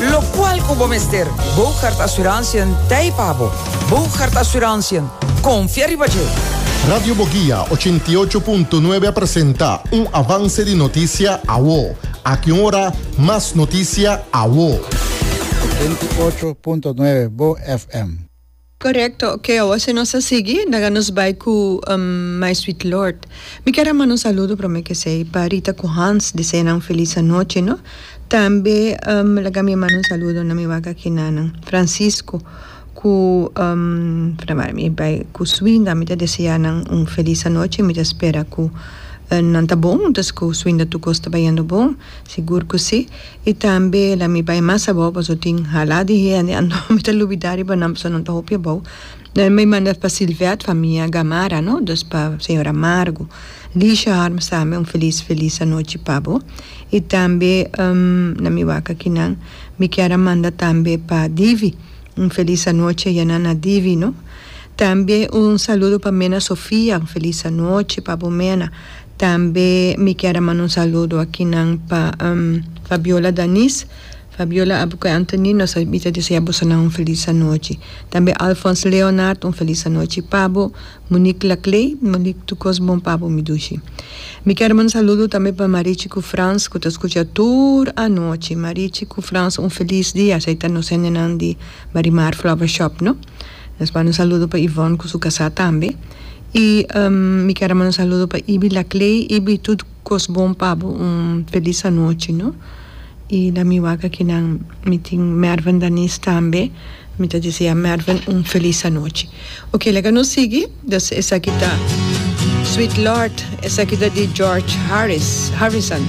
Locual cu bo mester, Boogaard Assurantiën t'ei pa bo. Boogaard Assurantiën, confia riba dje! Radio Boguia 88.9 a presenta un avance di noticia awo. Aki un ora, mas noticia awo. 88.9 Bo FM. Korekto, ok awor si nos a sigui laga nos bai ku My Sweet Lord. Mi kier a manda un saludo prome ke esei pa Rita ku Hans desea nan un felis anochi no. Tambe laga mi a manda un saludo na mi wak aki nanan Francisco ku mi bai ku Swinda mi ta desea nan un felis anochi mi ta spera ku nan ta bon entonces ku Swinda tur kos ta bayendo bon sigur ku si. I tambe la mi bai mas abou pasobra tin hala di hende anto mi ta lubida riba nan pasobra nan ta hopi abou. Dan mi manda pa Silvet famia Gamara no, dus pa señora Margo. Lisha Harms tambe un felis felis anochi pa bo. I tambe na mi wak akinan mi kier a manda tambe pa Divi un felis anochi ayana na Divi no. Tambe un saludo pa Mena Sofia un felis anochi pa bo Mena. Tambe mi kier a manda un saludo akinan pa Fabiola Danis, Fabiola abo ku Anthony nos a mi ta desea bosonan un felis anochi. Tambe Alphonse Leonard un felis anochi pa bo, Monique Laclay, Monique tur kos bon pa bo mi dushi. Mi kier a manda un saludo tambe pa Marichi ku Frans ku ta skucha tur anochi. Marichi ku Frans un felis dia, esei ta nos hendenan di Marimar Flower Shop no. Nos manda un saludo pa Yvonne ku su kasá tambe. Y mi kier a manda un saludo pa Ibi Laclay. Ibi tur cos bon pa bo un feliz anochi no. Y na mi wak akinan mi tin Mervin Danis tambe. Mi ta desea Mervin un feliz anochi. Ok laga nos sigui. Dus esaki ta Sweet Lord. Esaki ta di George Harris Harrison.